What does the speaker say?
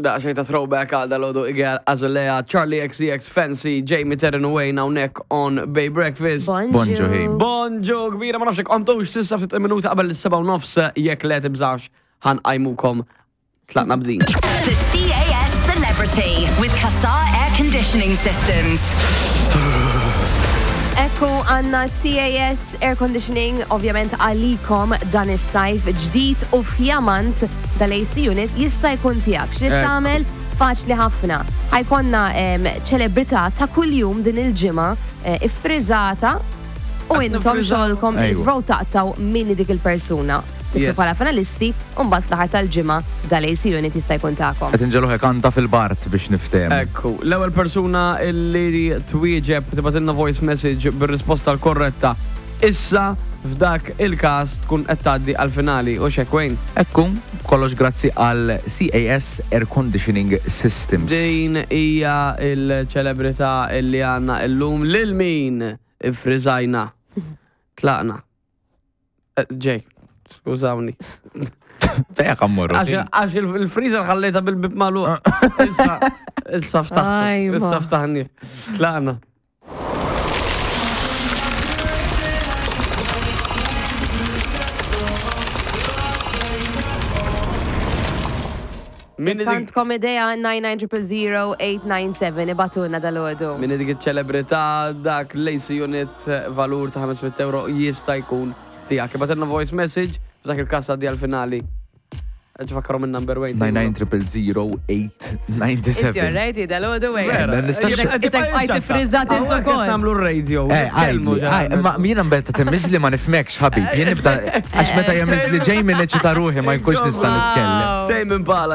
Daqsxejn ta' throwback għal dal-għodu Igel Azalea, Charlie XCX, Fancy, Jamie Terren u Wayne hawnhekk on Bay Breakfast. Bonġu, ħin. Bonġu kbira ma nafx jekk qomtux s'issa ftit minuti qabel is-seba' u nofs jekk le tibżax ħanqajmukom tlaqna b'din. The CAS Celebrity with Casar Air Conditioning Systems. Ekku għanna CAS Air Conditioning ovvjament għalikom dan is-sajf ġdid u fjamant dal-AC unit jista' jkun tiegħek. X'trid tagħmel? Faċli ħafna. Ħa jkollna ċelebrità ta' kuljum din il-ġimgħa eh, iffriżata u intom xogħolkom li tprovaw taqtgħu min hi dik il-persuna. Tidħlu bħala finalisti u mbagħad fl-aħħar tal-ġimgħa dal-AC unit jista' jkun tagħkom. Qed inġegħluh ikanta fil-bard biex niftehmu. Ekku, l-ewwel persuna li twieġeb tibgħatilna voice message bir-risposta l-korretta issa f'dak il-każ tkun qed tgħaddi għall-finali, hux hekk Wayne? Ekku, kollox grazzi għal CAS Air Conditioning Systems. Din hija l-ċelebrità li għandna illum. Lil min iffriżajna? Tlaqna. Eh, Ġej, skużawni. Fejn ħammorru? Għax il-freezer ħallejta bil-bib magħluq. Issa, issa ftaħtu. Issa ftaħni. Tlaqna. Min Għandkom idea 9900897 ibatuna dal-ħodu. Min dik iċ-ċelebrità dak l-AC unit valur ta' 500 euro jista' jkun tiegħek. Ibgħatilna voice message f'dak il-każ għaddi għall-finali. Ġifakkarom il-number wait. 9900897. It's your ready, dal-ħodu wait. Isek għajt frizzat intu kol. Namlu radio. Eh, għajdi, ma jiena mbeta temmizli ma nifmekx ħabib. Jien nibda, għax meta jemmizli ġej minn eċita ruħi ma jkunx nista' nitkellem. Tejm impala.